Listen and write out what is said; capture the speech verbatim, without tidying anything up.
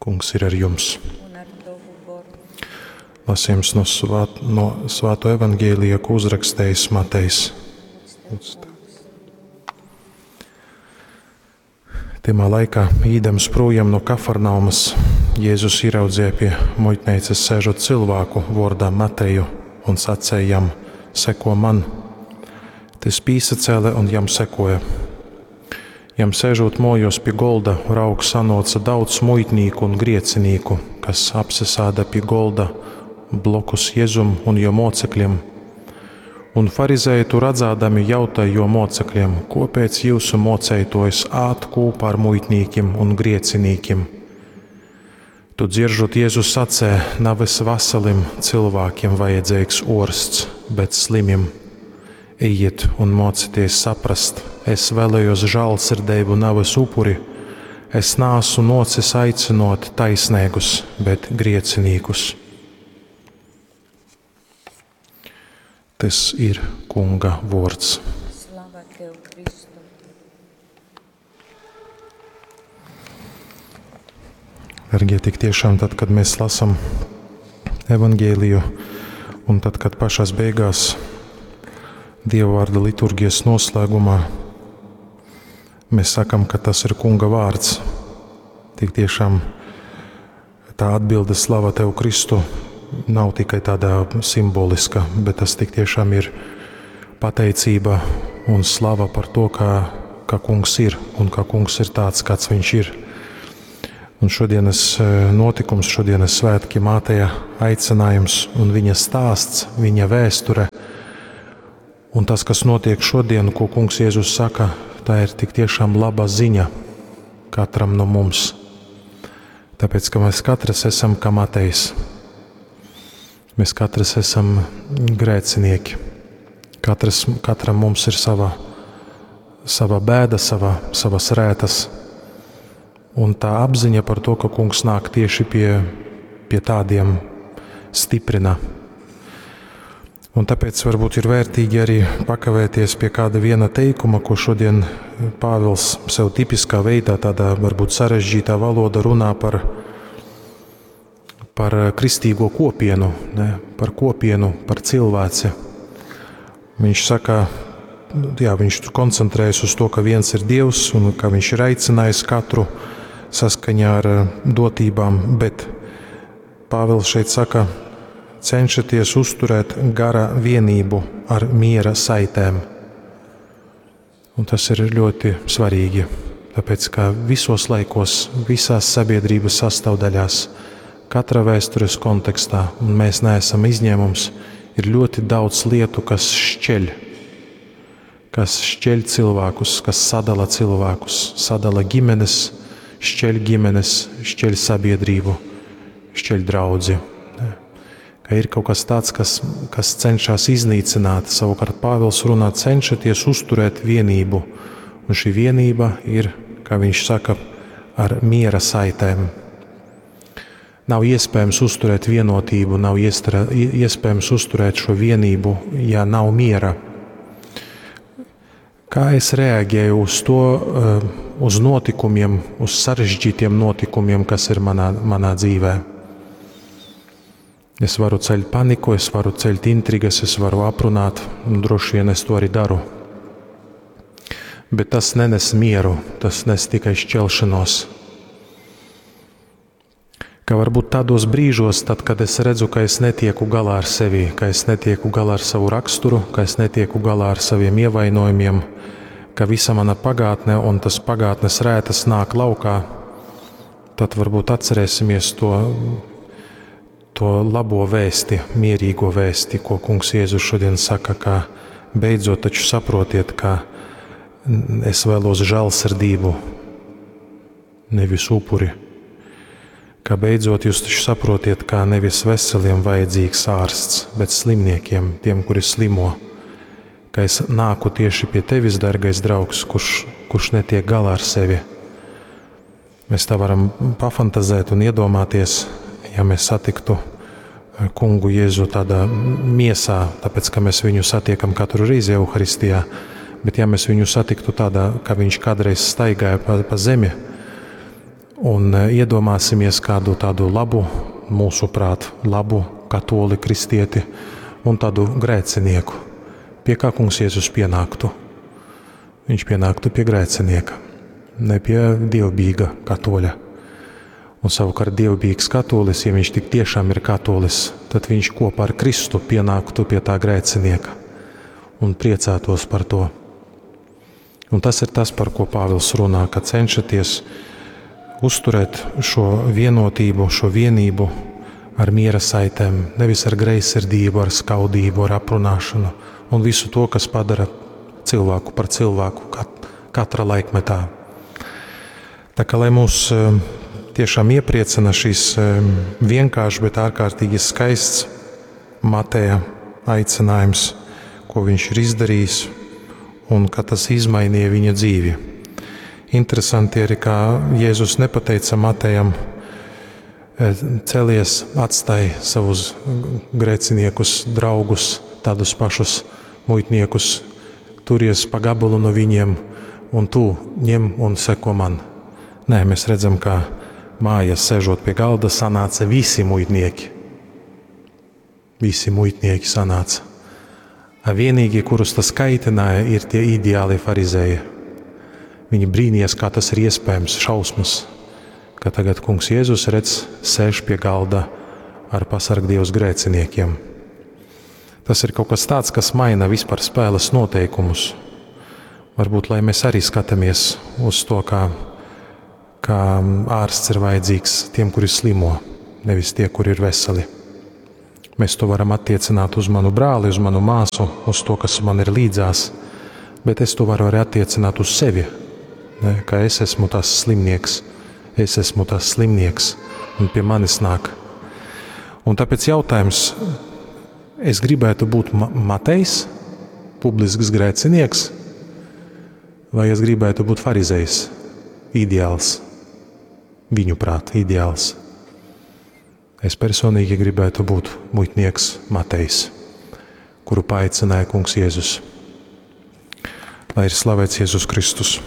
Kungs ir ar jums. Un ar tovu goru. Lasījums no, svāt, no Svāto evaņģēlija, ko uzrakstījis Matejs. Lūdz tev, Kungs. Tymā laikā, īdams projām no Kafarnaumas, Jēzus ieraudzīja pie muitnīcas sēžot cilvēku vārdā Mateju un sacīja jam: Seko man! Tas pīsacēle un jam sekoja. Jam sēžot mojos pie golda, raug sanoca daudz muitnīku un griecinīku, kas apsesāda pie golda blokus Jēzum un jo mocekļiem. Un farizēji tu redzādami jautāja jo mocekļiem, kopēc jūsu moceitojs ād kūpā ar muitnīkim un griecinīkim? Tu dzieržot Jēzus sacē, navis veselim cilvēkiem vajadzīgs orsts, bet slimim. Ejiet un mocieties saprast, es vēlējos žēlsirdību, nevis upuri. Es nāsu nocis aicinot taisnīgus, bet griecinīkus. Tas ir Kunga vārds. Slava tev, Kristu. Dargie, tik tiešām tad, kad mēs lasam evaņģēliju, un tad, kad pašās beigās Dieva vārda liturgijas noslēgumā mēs sakam, ka tas ir Kunga vārds. Tik tiešām tā atbilde slava tev, Kristu, nav tikai tādā simboliska, bet tas tik tiešām ir pateicība un slava par to, ka, ka Kungs ir un ka Kungs ir tāds, kāds viņš ir. Un šodienas notikums, šodienas svētki, Mateja aicinājums un viņa stāsts, viņa vēsture. Un tas, kas notiek šodien, ko Kungs Jēzus saka, tā ir tik tiešām laba ziņa katram no mums. Tāpēc, ka mēs katrs esam kā Matejs. Mēs katrs esam grēcinieki. Katrs, katram mums ir sava, sava bēda, sava, savas rētas. Un tā apziņa par to, ka Kungs nāk tieši pie, pie tādiem, stiprina. Un tāpēc varbūt ir vērtīgi arī pakavēties pie kāda viena teikuma, ko šodien Pāvils sev tipiskā veidā, tādā varbūt sarežģītā valoda runā par, par kristīgo kopienu, ne, par kopienu, par cilvēci. Viņš saka, jā, viņš tur koncentrējas uz to, ka viens ir Dievs un ka viņš ir aicinājis katru saskaņā ar dotībām, bet Pāvils šeit saka, cenšaties uzturēt gara vienību ar miera saitēm. Un tas ir ļoti svarīgi, tāpēc ka visos laikos, visās sabiedrības sastāvdaļās, katra vēstures kontekstā, un mēs neesam izņēmums, ir ļoti daudz lietu, kas šķeļ, kas šķeļ cilvēkus, kas sadala cilvēkus, sadala ģimenes, šķeļ ģimenes, šķeļ sabiedrību, šķeļ draudzi. Ka ir kaut kas tāds, kas, kas cenšas iznīcināt. Savukārt Pāvils runā, cenšaties uzturēt vienību. Un šī vienība ir, kā viņš saka, ar miera saitēm. Nav iespējams uzturēt vienotību, nav iestra, iespējams uzturēt šo vienību, ja nav miera. Kā es reaģēju uz to, uz notikumiem, uz sarežģītiem notikumiem, kas ir manā, manā dzīvē? Es varu ceļt paniku, es varu ceļt intrigas, es varu aprunāt, un droši vien es to arī daru. Bet tas nenes mieru, tas nes tikai šķelšanos. Ka varbūt tādos brīžos, tad, kad es redzu, ka es netieku galā ar sevi, ka es netieku galā ar savu raksturu, ka es netieku galā ar saviem ievainojumiem, ka visa mana pagātne un tas pagātnes rētas nāk laukā, tad varbūt atcerēsimies to, to labo vēsti, mierīgo vēsti, ko Kungs Jēzus šodien saka, ka beidzot taču saprotiet, ka es vēlos žēlsirdību, nevis upuri. Ka beidzot jūs taču saprotiet, ka nevis veseliem vajadzīgs ārsts, bet slimniekiem, tiem, kuri slimo. Ka es nāku tieši pie tevis, dargais draugs, kurš, kurš netiek galā ar sevi. Mēs tā varam pafantazēt un iedomāties, ja mēs satiktu kungu Jēzu tādā miesā, tāpēc, ka mēs viņu satiekam katru reizi Euharistijā, bet ja mēs viņu satiktu tādā, ka viņš kādreiz staigāja pa, pa zemi, Un e, iedomāsimies kādu tādu labu, mūsuprāt, labu katoli kristieti un tādu grēcinieku. Pie kā kungs Jēzus pienāktu? Viņš pienāktu pie grēcinieka, ne pie dievbijīga katoļa. Un savukārt dievbijīgs katolis, ja viņš tik tiešām ir katolis, tad viņš kopā ar Kristu pienāktu pie tā grēcinieka un priecātos par to. Un tas ir tas, par ko Pāvils runā, ka cenšaties uzturēt šo vienotību, šo vienību ar miera saitēm, nevis ar greizsirdību, ar skaudību, ar aprunāšanu un visu to, kas padara cilvēku par cilvēku kat katra laikmetā. Tā kā lai mūs eh, tiešām iepriecina šis eh, vienkāršs, bet ārkārtīgi skaists Mateja aicinājums, ko viņš ir izdarījis un ka tas izmainīja viņa dzīvi. Interesanti arī, kā Jēzus nepateica Matejam, eh, celies, atstāj savus grēciniekus, draugus, tādus pašus muitniekus, turies pa gabalu no viņiem, un tu ņem un seko man. Nē, mēs redzam, ka mājas sēžot pie galda sanāca visi muitnieki. Visi muitnieki sanāca. A vienīgie, kurus tas kaitināja, ir tie ideāli farizēji. Viņi brīnījās, kā tas ir iespējams, šausmas, ka tagad kungs Jēzus redz, sēž pie galda ar pasargdievs grēciniekiem. Tas ir kaut kas tāds, kas maina vispār spēles noteikumus. Varbūt, lai mēs arī skatāmies uz to, kā, kā ārsts ir vajadzīgs tiem, kuri slimo, nevis tie, kuri ir veseli. Mēs to varam attiecināt uz manu brāli, uz manu māsu, uz to, kas man ir līdzās, bet es to varu arī attiecināt uz sevi, ne, ka es esmu tas slimnieks, es esmu tas slimnieks, un pie manis nāk. Un tāpēc jautājums, es gribētu būt Ma Matejs, publisks grēcinieks, vai es gribētu būt farizejs, ideāls, viņu prāt, ideāls. Es personīgi gribētu būt muitnieks Matejs, kuru paaicināja kungs Jēzus. Lai ir slavēts Jēzus Kristus.